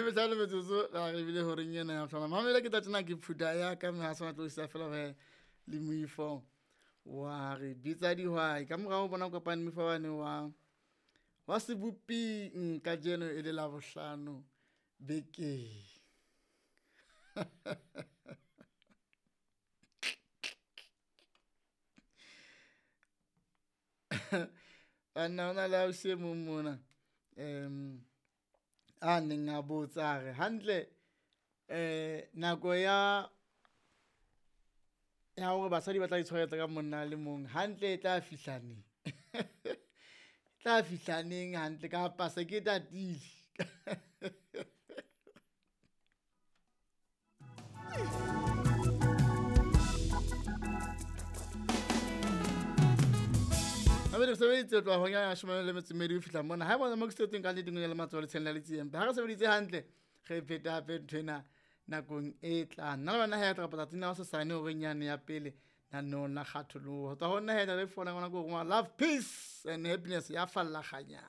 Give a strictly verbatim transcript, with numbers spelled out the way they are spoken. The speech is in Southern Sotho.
Metlhano metsotso la re bile horeng ena ya bohlano. Mamela ke tla tjena ke phutha ya ka mme ha sona tlo isa fela he le moifo wa re bitsa dihwai. Ka morao ho bona kopane moifo wane wa wa seboping kajeno e le Labohlano bekeng. Banna hona le ausi e mong mona um a neng a botsa a re hantle eh nako ya ya hore basadi ba tla itshwaretsa ka monna a le mong hantle e tla fihla neng? E tla fihla neng hantle kapa se ke tatile? Re sebeditse ho tloha hora ya leshome le metso e mmedi ho fihla mona. Ha eba mo ke setseng ka nnete le matsoho letsheng la letsie. Ha re sebeditse hantle, re phete hape nthwena nakong e tlang. Nna le wena he tla tsatsing la hosasane horeng yane ya pele naneong la kgatholoho. Ho tswa ho nna he le fola ngwana ko rongwa love, peace and happiness ya falla kganya.